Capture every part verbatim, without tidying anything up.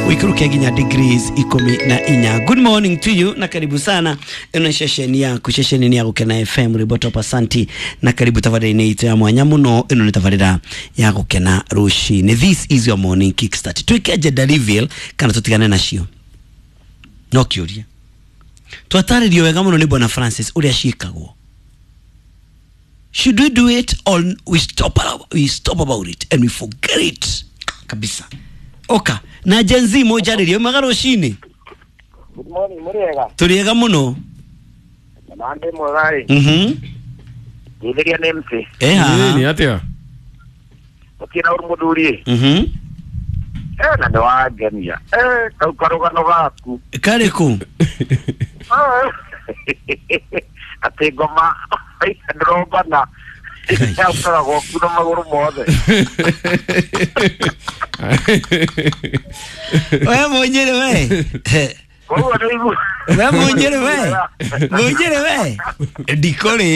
Wikuruke nginya degrees ikumi na inya. Good morning to you na karibu sana. Ino ceceni yaku, ceceni ni ya Gukena F M Riboto Asanti na karibu tabarĩra-inĩ itũ ya mwanya mũno. Ino nĩ tabarĩra ya Gukena rũcinĩ. This is your morning kickstart. Twĩke gender reveal kana tũtigane nacio? No kĩũria. Twatarĩrio wega mũno nĩ Bwana Francis ũrĩa ciĩkagwo. Should we do it or we stop, we stop about it and we forget it kabisa? Oka na Gen Z mojarĩrio mwega rũcinĩ. Good morning, mũrĩega. Tũrĩega mũno. Na ndĩ mwega ĩ. Mhm. Ndĩtheria nĩ M C. Eh ha. Ni atia? Ũkĩra ũrĩ mũthuri. Mhm. Eh na nĩ wangenia. Eh kau karũgano gaku. Karĩkũ? Atĩ ngoma ndĩrombana. Yaũkoragwo kuo na magũrũ mothe. We mũnyĩrĩ we. Koguo nĩ igu. We mũnyĩrĩ we. Mũnyĩrĩ we. Ndikũrĩ.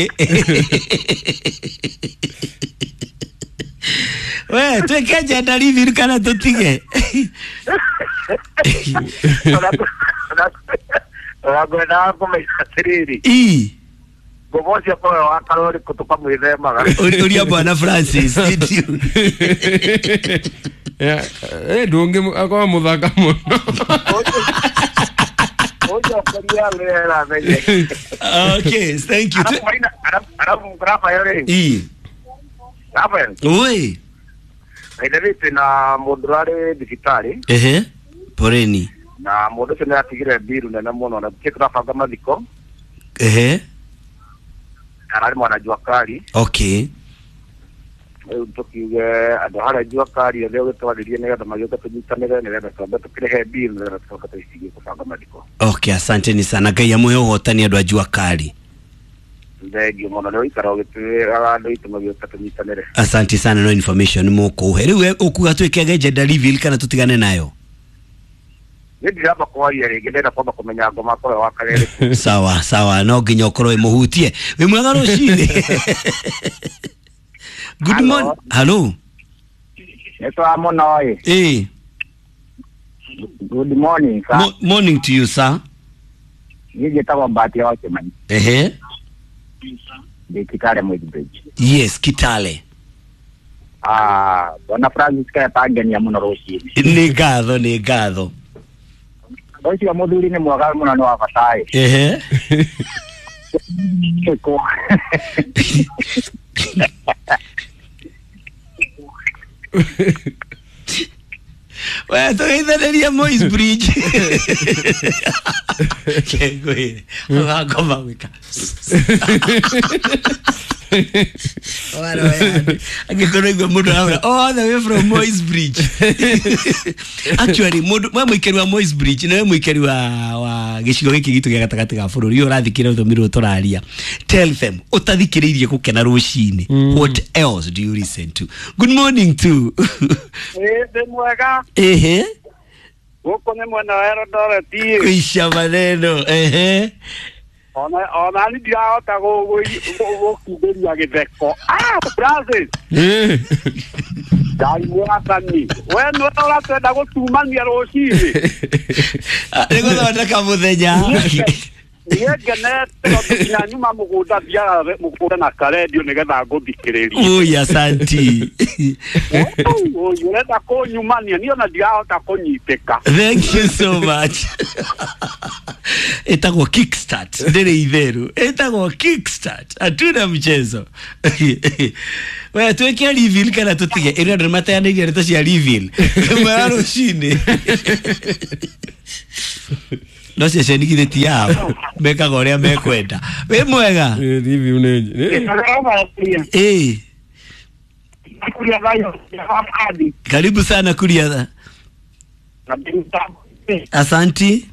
We twĩke gender reveal kana tũtige? Ũragwendaga kũmenya atĩrĩrĩ. Ii. Ngoma ũcio akoragwo wa karori kũ tũkamwĩthemaga. Ũria Bwana Francis. Yeah, eh ndũngĩ akorwo mũthaka mũno. Ũnjokeria rĩera menye. Okay, thank you. Arabu Rafael rĩ. Ii. Rafael. Oi. Aithe na mũndũ ũrarĩ thibitarĩ. Ehe. Poreni. Na mũndũ ũcio nĩ atigire mbiru nene mũno na tũkĩ tũrabanga mathiko. Ehe. Ararĩ mwana jua kali. Okay. Rĩu tũkiuge andũ harĩa jua kali othe ũgĩtwarĩrie nĩgetha magĩũke tũnyitanĩre nĩgetha twambe tũkĩrĩhe mbiru nĩgetha tũcoke tũicigie kũbanga mathiko. Okay, asanteni sana. Ngai amũhe ũhotani andũ a jua kali. Thengiũ mũno nĩ ũikara ũgĩtwĩraga andũ aitũ magĩũka tũnyitanĩre. Asante sana no information mũkũhe. Rĩu ũkuga twĩkege gender reveal kana tũtigane nayo? Nĩ ndiramba kwaria rĩngĩ, ndĩrenda kwamba kũmenya ngoma akorwo wa karere. Sawa sawa, no nginya ũkorwo ĩmũhutie. Wĩ mwega rũcinĩ. Good morning. Hello. Nĩtwa mũno ĩ. Eh. Good morning sir. Mo morning to you sir. Niĩ njĩtagwo Mbati wa Kĩmani. Ehe. Ndĩ Kitale Mwezi Bridge. Yes, Kitale. Ah, Bwana Francis kaya tangenia mũno rũcinĩ. Nĩ ngatho, nĩ ngatho. Ũcio mũthuri nĩ mwega mũno nĩ wa bata ĩ. Ehe. Ĩko. We tũgeithanĩria Moi's Bridge. Kengwĩre ũgakoma gwĩka. Angĩkorwo igua mũndũ arauga all the way from Moi's Bridge. Actually mũndũ we mũikari wa Moi's Bridge na we mũikari wa wa gĩcigo gĩkĩ gitũ gĩa gatagatĩ ga bũrũri ũrathikĩrĩria rũthiomi rũrũ tũraria. Tell them ũtathikĩrĩirie Gũkena rũcinĩ. What else do you listen to? Good morning to. Ĩ ndĩ mwega. Ehe. Gũkũ nĩ mwena wa Eldoret. Kuisha maneno. Ehe. Ona ona nĩ ndirahota gũkindĩria gĩtheko. Ah, Francis. Eh. Ngai mwathani. We nĩwe ũratwenda gũtumania rũcinĩ. Nĩ gũthondeka mũthenya. Niĩ ngenete tondũ nginya nyuma mũgũnda thiaga mũgũnda na karendio nĩgetha ngũthikĩrĩrie. Ui, asanti. Ui, ũrenda kũnyumania niĩ ona ndirahota kũnyitĩka. Thank you so much. Ĩtagwo kickstart. Ndĩrĩ itheru. Ĩtagwo kickstart. Hatuna mchezo. We twĩke reveal kana tũtige? Ĩrĩa andũ nĩmateanĩirie ndeto cia reveal. Mwega rũcinĩ. No ceceni githĩ ti yao mekaga ũrĩa mekwenda. Wĩ mwega? Review nĩ Ĩ. Karibu sana Kuria. Asanti.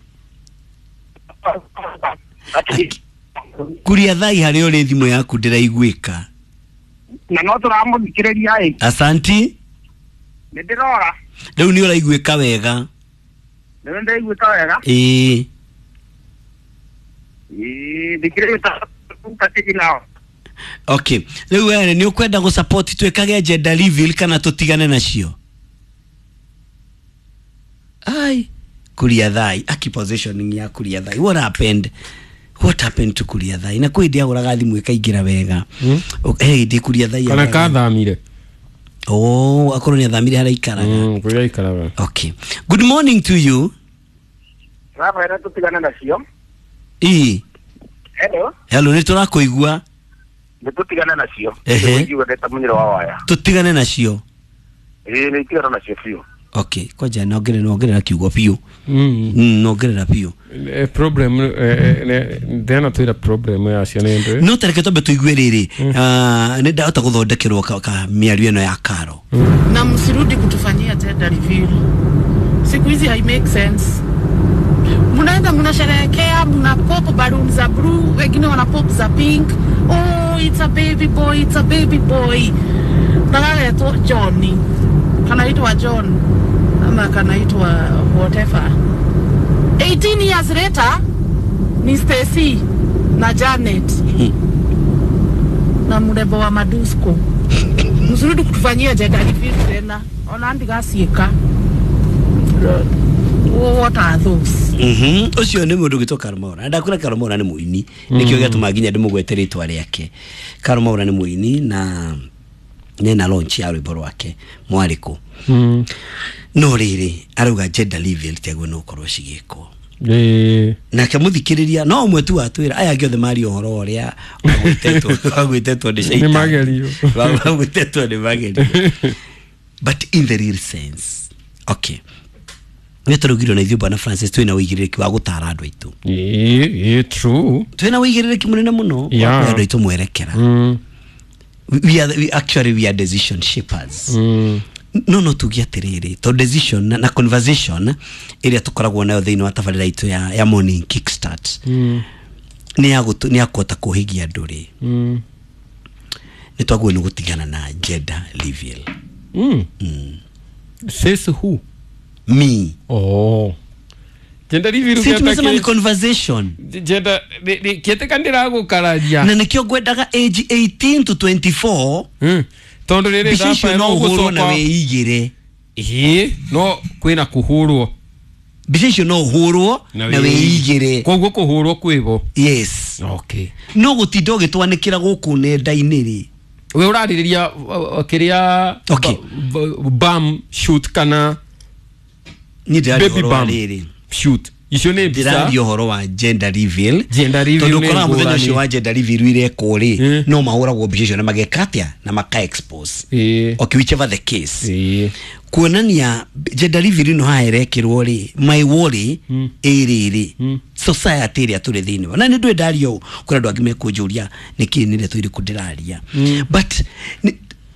Kuria thai harĩa ũrĩ thimũ yaku ndĩraiguĩka. Na no tũramũthikĩrĩria ĩ. Asanti. Nĩ ndĩrora. Rĩu nĩ ũraiguĩka wega. Nĩ ndĩraiguĩka wega? Ĩĩ. Ĩĩ, thikĩrĩria ta Okay. Rĩu we nĩ ũkwenda gũ support twĩkage gender reveal kana tũtigane nacio? Ai. Kuria Thai aki positioning ya Kuria Thai. What happened? What happened to Kuria Thai? Na kwä ndä agåraga thimå ĩkaingĩra wega. Mm. He ndä Kuria Thai kana agũraga- kathamire. Oh, akorwo nĩ athamire harĩa aikaraga. Mm, kũrĩa aikaraga. Okay, good morning to you. Rafaela tũtigane nacio. Ii. Hello. Hello, nĩ tũrakũigua. Nĩ tũtigane nacio. Ehe. Nĩguo ndeta mũnyĩro wa waya. Tũtigane nacio. Ĩĩ nĩ itigana nacio biũ. Okay, kwanja nongerera nongerera kiugo biũ. Mm. Mm, nongerera biũ. Eh, problem eh, eh, ne- ndena twĩra problem yacio nĩ ndũ. No tareke twambe tũigue rĩrĩ. Ah, nĩ ndahota gũthondekerwo ka, ka mĩario ĩno ya Karo. Na msirudi kutufanyia gender reveal. Siku hizi hai make sense. Mnaenda mnasherehekea, mna pop balloon za blue, wengine wana pop za pink. Oh, it's a baby boy, it's a baby boy. Na kanaitwa Johnny. Kanaitwa John ama kanaitwa whatever. eighteen years later ni Stacy na Janet na mrembo wa Madusko. Msirudi kutufanyia gender reveal tena. Ona ndigaciĩka. What are those? Mhm. Ũcio nĩ mũndũ ũgĩtwo Karũmaura. Ndakũra Karũmaura nĩ mũini. Nĩkĩo gĩatũma nginya ndĩmũgwete rĩtwa rĩake. Karũmaura nĩ mũini na nena launch ya rwĩmbo rwake mwarĩkũ. Mm. No rĩrĩ arauga gender reveal tiaguo no ũkorwo cigĩkwo. Ĩĩ. Nake mũthikĩrĩria no ũmwe tu watwĩra aya angĩ othe maria ũhoro ũrĩa wagwĩtetwo wagwĩtetwo nĩ Nĩ magerio. Wagwĩtetwo nĩ magerio. But in the real sense, okay, nĩ tũraugirwo na ithuĩ bwana Francis twĩna ũigĩrĩrĩki wa gũtara andũ aitũ. Ĩĩ, ĩĩ, true. Twĩna ũigĩrĩrĩki mũnene mũno wa Yeah. kũhe andũ aitũ mwerekera. Mm. we are, we actually we are decision shapers. Mm. No no tuge atĩrĩrĩ to decision na, na conversation ĩrĩa tũkoragwo nayo thĩinĩ wa tabarĩra itũ ya, ya morning kickstart Mm. nĩ ya gũtũ- nĩ ya kũhota kũhĩgia andũ rĩ, Mm. nĩ twagĩrĩirwo nĩ gũtigana na gender reveal. Mm. Mm. Says who? Me. Oh. Gender reveal Si tumesema ni gĩatake- conversation. Gender nĩ- nĩ- kĩetĩka ndĩragũkararia. Na nĩkĩo ngwendaga age eighteen to twenty-four. Mm. Tondũ rĩrĩ mbica icio no ũhũrwo na wĩigĩre. Ĩĩ, no kwĩna kũhũrwo. Mbica icio no ũhũrwo na wĩigĩre. Koguo kũhũrwo kwĩho. Yes. Okay. No gũtinda ũgĩtwanĩkĩra gũkũ nenda-inĩ rĩ. We ũrarĩrĩria uh, uh, kĩrĩa Okay. ba- ba- bam shoot kana Niĩ ndĩraria baby ũhoro wa bam rĩrĩ. shoot. Icio nĩ mbica. Ndĩraria ũhoro wa gender reveal. Gender reveal tondũ nĩ ũkoraga mũthenya ngũrani. ũcio wa gender reveal irekwo rĩ, Mm. no mahũragwo mbica icio na mageka atĩa na maka expose. Ĩĩ. Okay, whichever the case, Ĩĩ. kuonania gender reveal ĩno haha ĩrekĩrwo rĩ, my worry Mm. ĩrĩrĩ Mm. society ĩrĩa tũrĩ thĩinĩ wa na nĩ ndũĩ ndaria ũũ kũrĩ andũ angĩ mekũnjũria nĩkĩ nĩ ndeto irĩkũ ndĩraria, Mm. but nĩ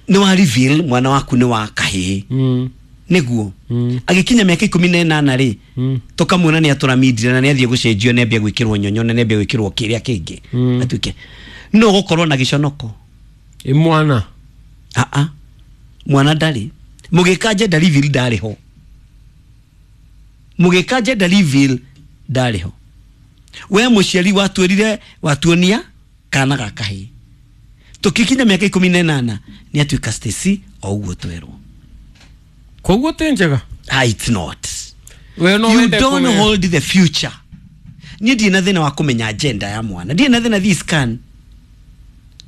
nĩ wa reveal mwana waku nĩ wa kahĩĩ, Mm. nĩguo Mm. agĩkinya mĩaka ikũmi na ĩnana rĩ, Mm. tũkamuona nĩ atũramindire na nĩ athiĩ gũcenjio nĩ ambia gwĩkĩrwo nyonyo na nĩ ambia gwĩkĩrwo kĩrĩa kĩngĩ, Mm. atuĩke no gũkorwo na gĩconoko. Ĩ mwana. Aa, mwana ndarĩ mũgĩka gender reveal ndarĩ ho, mũgĩka gender reveal ndarĩ ho. We mũciari watwĩrire watuonia kana ga kahĩĩ tũkĩkinya mĩaka ikũmi na ĩnana nĩ atuĩka Stacy o ũguo twerwo. Koguo ti njega. Ah, it's not. We no You wende don't kũmenya. hold the future. Niĩ ndirĩ na thĩna wa kũmenya agenda ya mwana, ndirĩ na thĩna. This scan,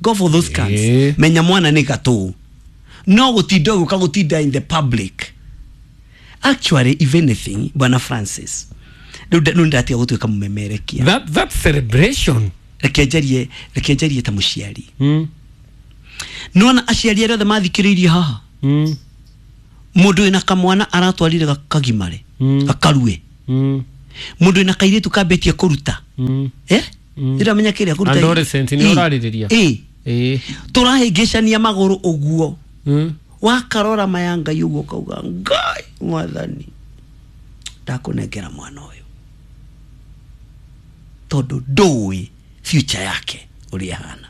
go for those scans. Ĩĩ. Menya mwana nĩ gatũ, no gũtinda ũgĩũka gũtinda in the public. Actually, if anything, bwana Francis, rĩu nda- rĩu ndatiga gũtuĩka mũmemerekia. That that celebration. Reke njarie, reke njarie ta mũciari. Mm. Nona aciari arĩa othe mathikĩrĩirie haha, Mm. mũndũ wĩna kamwana aratwarire gakagimare, Mm. gakarue, Mm. mũndũ wĩna kairĩtu kambĩtie kũruta, Mm. eh Mm. ndĩramenya kĩrĩa kũruta. Adolescent nĩ ũrarĩrĩria? Ĩ. Ĩĩ. Tũrahĩngĩcania magũrũ ũguo, Mm. wakarora maya Ngai ũguo ũkauga, Ngai mwathani, ndakũnengera mwana ũyũ tondũ ndũĩ future yake ũrĩa ĩhana.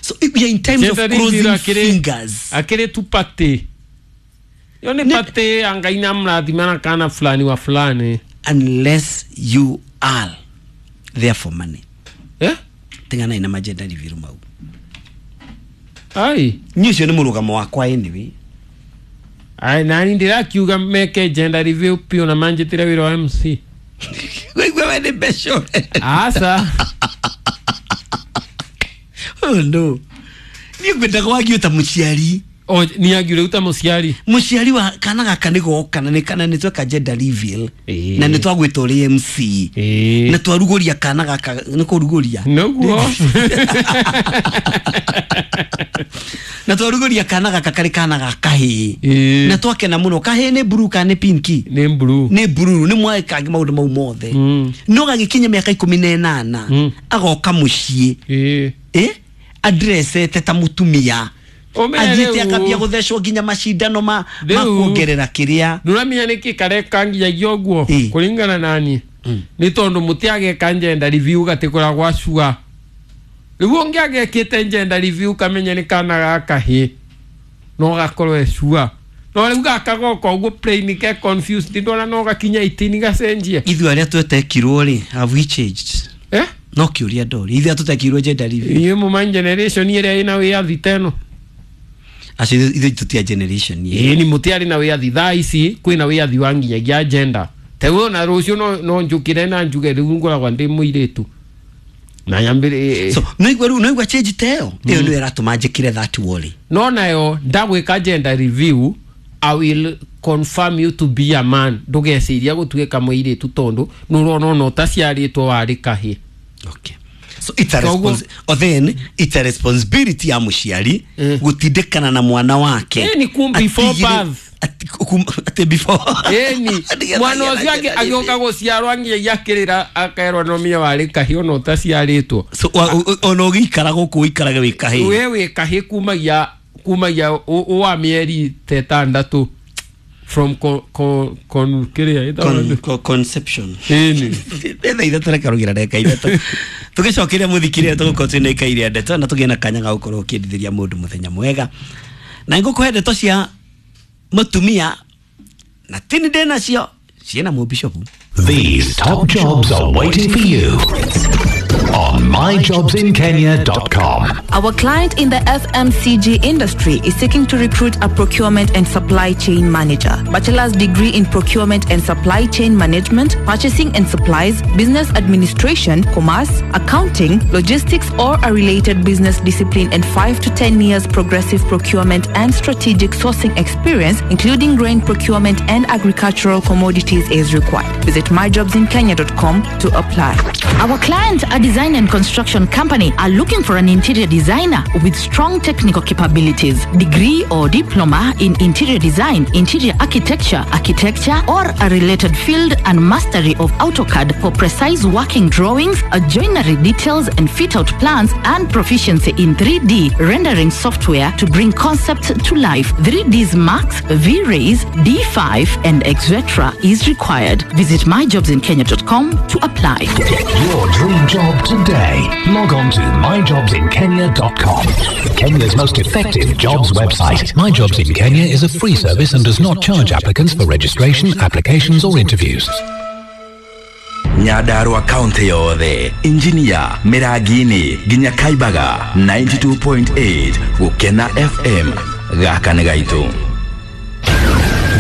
So we are in times of Gender reveal crossing akĩrĩ- fingers. Akĩrĩ tu party. Yo nĩ Nĩ- party ya Ngai na mũrathima na kana fulani wa fulani. Unless you are there for money. Eh? Tiganai na magender reveal mau. Ai. Niĩ ũcio nĩ mũrũgamo wakwa anyway. Ai nani ndirakiuga meke gender review pio na manjitire wira wa M C. Wewe we ni besho. Asa. Oh no. Ni kwenda kwagio ta muciari. O ni agire uta muciari. Muciari wa kana gaka ni goka na ni kana ni tweka gender reveal. Na ni twagwitwo ri M C. Na twaruguria kana gaka ni kuruguria. Noguo. Na twaruguria kana gaka kari kana gaka hi. Na twakena muno kahi ni blue kana ni pinki. Ni blue. Ni blue ni mweka maundu mau mothe. No gagikinya miaka ikumi na inana agoka mucii. Eh? Addressete ta mutumia. Athiete akambia guthecwo nginya macindano ma kuongerera kiria nduramenya niki kareka nginyagia uguo kuringana nani ni tondu mutiageka gender review gatikora gwa cua riu ungiagekite gender review kamenya ni kana gaka hi no gakorwo e cua no riu gaka goka uguo plain ke confused ndona no gakinya itini gacenjie. Ithuĩ aria twetekirwo ri have we changed? Eh no kiuria ndori ithuĩ tutekirwo gender review inyuĩ muma generation ĩrĩa ĩna wĩyathi teno. Acio ithuĩ tutia generation ĩĩ ni mutiari na wĩyathi thaa ici kwĩna wĩyathi wa nginyagia gender tewe na rũciũ no no njũkĩre na njuge rĩu ngoragwo ndĩ mũirĩtu na nyambĩrĩ. So no igua rĩu no igua change teo ĩyo nĩyo ĩratũma njĩkĩre that worry. No nayo ndagwĩka gender review I will confirm you to be a man ndũgeciria gũtuĩka mũirĩtu tondũ nĩũrona ona ũtaciarĩtwo warĩ kahĩĩ. Okay. So it's a response or then it's a responsibility ya muciari mm. gutindikana na mwana wake. Eh ni kum before birth. Ati before. Eh ni mwana ucio agioka guciarwo nginya kirira akerwo no mia wari kahĩ ona utaciarĩtwo. So ona ũgĩikara gũkũ ũikarage wĩ kahĩ. We wĩ kahĩ kumagia kumagia wa mĩeri ta ĩtandatũ from con con con kiria con conception. Ĩni etha ithatũ reke rugira ndagĩka ithatũ tugicokeria muthikire tugukorwo twina ikaire ndeto na tugie na kanya ga gukorwo ukindithiria mundu muthenya mwega na ngukuhe ndeto cia mutumia na tini ndĩ nacio ciena mu bishop. These top jobs are waiting for you on my jobs in kenya dot com. Our client in the F M C G industry is seeking to recruit a procurement and supply chain manager. Bachelor's degree in procurement and supply chain management, purchasing and supplies, business administration, commerce, accounting, logistics or a related business discipline, and five to ten years progressive procurement and strategic sourcing experience, including grain procurement and agricultural commodities is required. Visit my jobs in kenya dot com to apply. Our client, a design and construction company, are looking for an interior designer with strong technical capabilities, degree or diploma in interior design, interior architecture, architecture or a related field, and mastery of AutoCAD for precise working drawings, joinery details and fit-out plans, and proficiency in three D rendering software to bring concepts to life. three Ds Max, V-Rays, D five and et cetera is required. Visit my jobs in kenya dot com to apply. Get your dream job today. Log on to my jobs in kenya dot com. Kenya's most effective jobs website. My Jobs in Kenya is a free service and does not charge applicants for registration, applications or interviews. Nyandarua County yothe, Engineer Miragini nginya Kaibaga ninety-two point eight Gukena F M gaka nĩ gaitũ.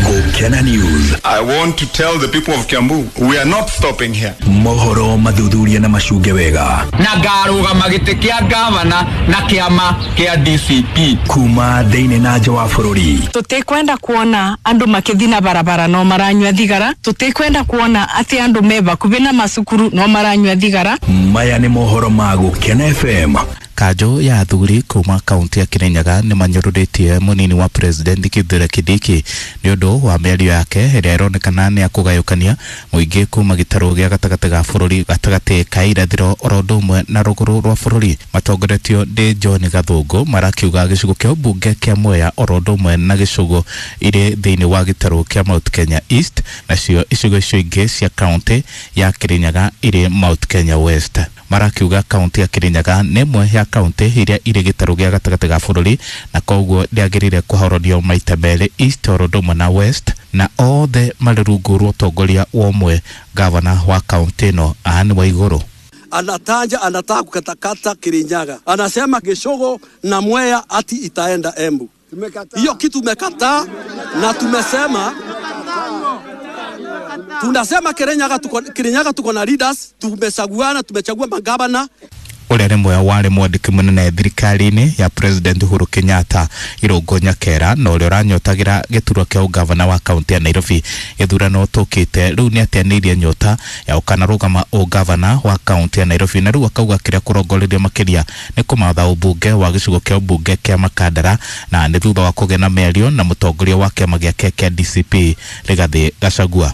Gukena News. I want to tell the people of Kiambu, we are not stopping here. Mohoro mathuthuria na macunge wega. Na ngarũgama gĩtĩ kĩa gavana na kĩama kĩa D C P. Kuma thĩinĩ na nja wa bũrũri. Tũtikwenda kuona andũ makĩthiĩ na barabara no maranyua thigara. Tũtikwenda kuona atĩ andũ me bakuhĩ na macukuru no maranyua thigara. Maya nĩ mohoro ma Gukena F M. Kanjũ ya athuri kuma kaunti ya Kirinyaga nĩ manyũrũrĩtie mũnini wa president Kithure Kindiki nĩ ũndũ wa mĩario yake ĩrĩa ĩronekana nĩ ya kũgayũkania mũingĩ kuma gĩtarũ gĩa gatagatĩ ga bũrũri gatagatĩ ka irathĩro oro ũndũ ũmwe na rũgũrũ rwa bũrũri. Matongoretio nĩ John Gathũngũ marakiuga gĩcigo kĩa ũmbunge kĩa Mwea oro ũndũ ũmwe na gĩcigo irĩ thĩinĩ wa gĩtarũ kĩa Mount Kenya East, nacio icigo icio ingĩ cia kaunti ya Kirinyaga irĩ Mount Kenya West. Marakiuga kaunti ya Kirinyaga nĩ ĩmwe ya kaunti iria irĩ gĩtarũ gĩa gatagatĩ ga bũrũri na koguo ndĩagĩrĩire kũhororio maita merĩ East oro ũndũ ũmwe na West, na othe marĩ rungu rwa ũtongoria wa ũmwe gavana wa kaunti ĩno Anne Waigũrũ. Anataja anataka kukatakata Kirinyaga, anasema Gĩcũgo na Mwea ati itaenda Embu. Hiyo kitu tumekataa na tumesema tunasema Kirinyaga tuko, Kirinyaga tuko na leaders, tumechaguana, tumechagua magavana. Ũrĩa nĩ mwe warĩ mwandĩki mũnene thirikari-inĩ ya President Uhuru Kenyatta Irũngũ Nyakera na ũrĩa ũranyotagira gĩturwa kĩa ũgavana wa kaunti ya Nairobi gĩthurano tũkĩte rĩu nĩ ateanĩirie nyota ya ũkanarũgama ũgavana wa kaunti ya Nairobi na rĩu akauga kĩrĩa kũrongorerio makĩria nĩ kũmatha ũmbunge wa gĩcigo kĩa ũmbunge kĩa Makandara na nĩ thutha wa kũgĩa na mĩario na mũtongoria wa kĩama gĩake kĩa D C P Rigathĩ Gachagua.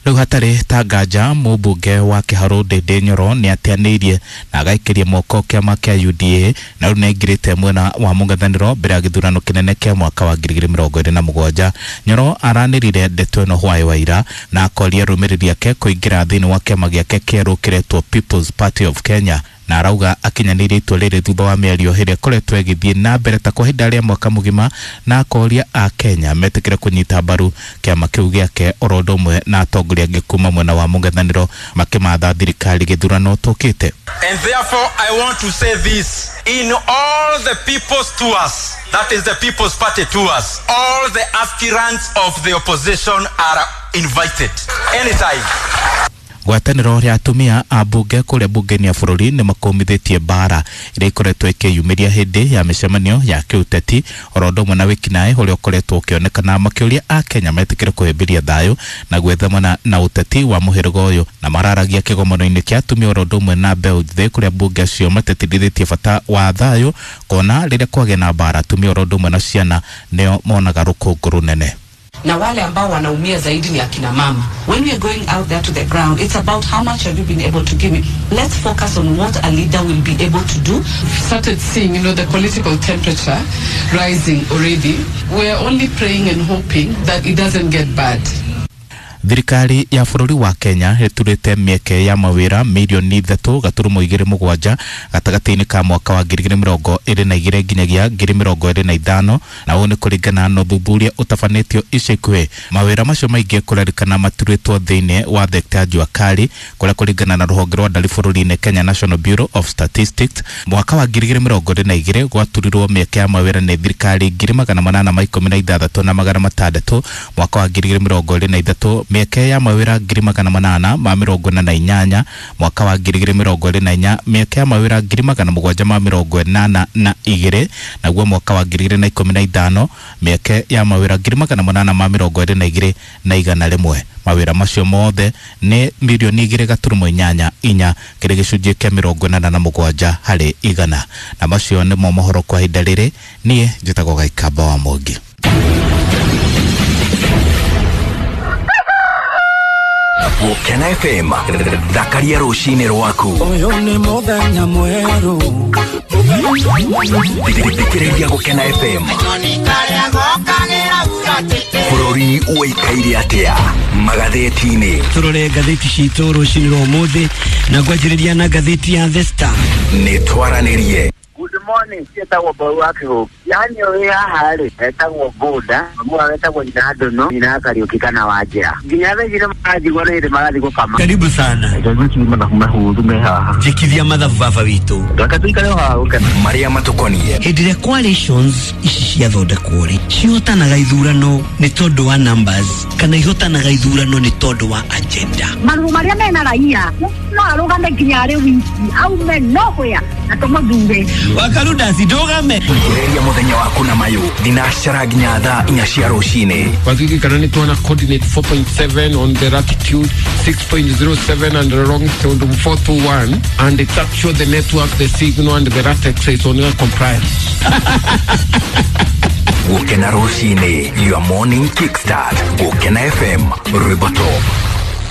Rĩu hatarĩ ta nganja mũmbunge wa Kĩharũ Ndĩndĩ Nyoro nĩ ateanĩirie na agaikĩria moko kĩama kĩa U D A na rĩu nĩaingĩrĩte mwena wa mũng'ethanĩro mbere ya gĩthurano kĩnene kĩa mwaka wa ngiri igĩrĩ mĩrongo ĩrĩ na mũgwanja. Nyoro aranĩrire ndeto ĩno hwaĩ wa ira na akoria arũmĩrĩri ake kũingĩra thĩinĩ wa kĩama gĩake kĩerũ kĩretwo People's Party of Kenya na arauga akinyanĩirie itua rĩrĩ thutha wa mĩario ĩrĩa ĩkoretwo ĩgĩthiĩ na mbere ta kwa ihinda rĩa mwaka mũgima na akoria a Kenya metĩkĩre kũnyita mbaru kĩama kĩu gĩake oro ũndũ ũmwe na atongoria angĩ kuma mwena wa mũng'ethanĩro makĩmatha thirikari gĩthurano tũkĩte. And therefore I want to say this in all the people's tours, that is the People's Party tours, all the aspirants of the opposition are invited anytime. Ngwatanĩro ya atumia a mbunge kũrĩa mbunge-inĩ ya bũrũri nĩ makũmithĩtie mbara ĩrĩa ĩkoretwo ĩkĩyumĩria hĩndĩ ya mĩcemanio ya kĩũteti oro ũndũ ũmwe na wĩkinaĩ ũrĩa ũkoretwo ũkĩonekana makĩũria a Kenya metĩkĩre kũhĩmbĩria thayũ na gwĩthemana na ũteti wa mũhĩrĩga ũyũ na mararagia kĩgomano-inĩ kĩa atumia oro ũndũ ũmwe na mbeũ njĩthĩ kũrĩa mbunge acio matetithĩtie bata wa thayũ kuona rĩrĩa kwagĩa na mbara atumia oro ũndũ ũmwe na ciana nĩo monaga rũkũngũ rũnene. Na wale ambao wanaumia zaidi ni akina mama. When we are going out there to the ground, it's about how much have you been able to give me. Let's focus on what a leader will be able to do. We've started seeing, you know, the political temperature rising already. We're only praying and hoping that it doesn't get bad. Thirikari ya bũrũri wa Kenya ĩturĩte mĩeke ya mawĩra mirioni ithatũ gaturumo igĩrĩ mũgwanja gatagatĩ-inĩ ka mwaka wa ngiri igĩrĩ mĩrongo ĩrĩ na igĩrĩ nginyagia ngiri mĩrongo ĩrĩ na ithano na ũũ nĩ kũringana na ũthuthuria ũtabanĩtio ica ikuhĩ. Mawĩra macio maingĩ kũrerĩkana maturĩtwo thĩinĩ wa thekta ya jua kali kũrĩa kũringana na rũhonge rwa ndari bũrũri-inĩ Kenya National Bureau of Statistics mwaka wa ngiri igĩrĩ mĩrongo ĩrĩ na igĩrĩ gwaturirwo mĩeke ya mawĩra nĩ thirikari ngiri magana manana ma ikũmi na ithathatũ na magana matandatũ mwaka wa ngiri igĩrĩ mĩrongo ĩrĩ na ithatũ mĩeke ya mawĩra ngiri magana manana ma mĩrongo ĩna na inyanya mwaka wa ngiri igĩrĩ mĩrongo ĩrĩ na inya mĩeke ya mawĩra ngiri magana mũgwanja ma mĩrongo ĩnana na igĩrĩ naguo mwaka wa ngiri igĩrĩ na ikũmi na ithano mĩeke ya mawĩra ngiri magana manana ma mĩrongo ĩrĩ na igĩrĩ na igana rĩmwe. Mawĩra macio mothe nĩ mirioni igĩrĩ gaturumo inyanya inya kĩrĩ gĩcunjĩ kĩa mĩrongo ĩnana na mũgwanja harĩ igana. Na macio nĩmo mohoro kwa ihinda rĩrĩ. Niĩ njĩtagwo Gaikamba wa Mwangi. Gukena F M thakaria rũcinĩ rwaku. Ũyũ nĩ mũthenya mwerũ. Thikĩrĩria Gukena F M. Bũrũri ũikaire atĩa magathĩti-inĩ. Tũrore ngathĩti citũ rũcinĩ rwa ũmũthĩ na ngwanjĩrĩria na ngathĩti ya The Star. Nĩ twaranĩrie. Good morning, ciĩtagwo Mbau wa Kĩhũngĩ. Yani ũrĩ haha rĩ, etagwo Ngũnda, mamu etagwo nyina Ndũnũ, nyina Kariũki kana Wanjĩra. Nginya thaa ici nĩ maranjigua nĩ hĩndĩ marathiĩ gũkama. Karibu sana. Mathabu me haha. Njĩkithia mathabu baba witũ. Reke tũikare o haha gũkena. Marĩa matũkoniĩ. Hĩndĩ ĩrĩa coalitions ici ciathondekwo rĩ, cihotanaga ithurano nĩ tondũ wa numbers kana ihotanaga ithurano nĩ tondũ wa agenda. Maruo marĩa mena raia no arũgame nginya arĩ wiki aume nowhere na tũmũthure. Wakaruda sidogame. Gereria muthenya waku na mayu thinacara nginya thaa inya cia rucini. Watwiki kana nĩ tuona coordinate four point seven on the latitude, six point zero seven and the longitude four two one, and it's actually the network, the signal and the latex is on your compliance. Gukena rucini, your morning kickstart. Gukena F M, Rwimbo Top.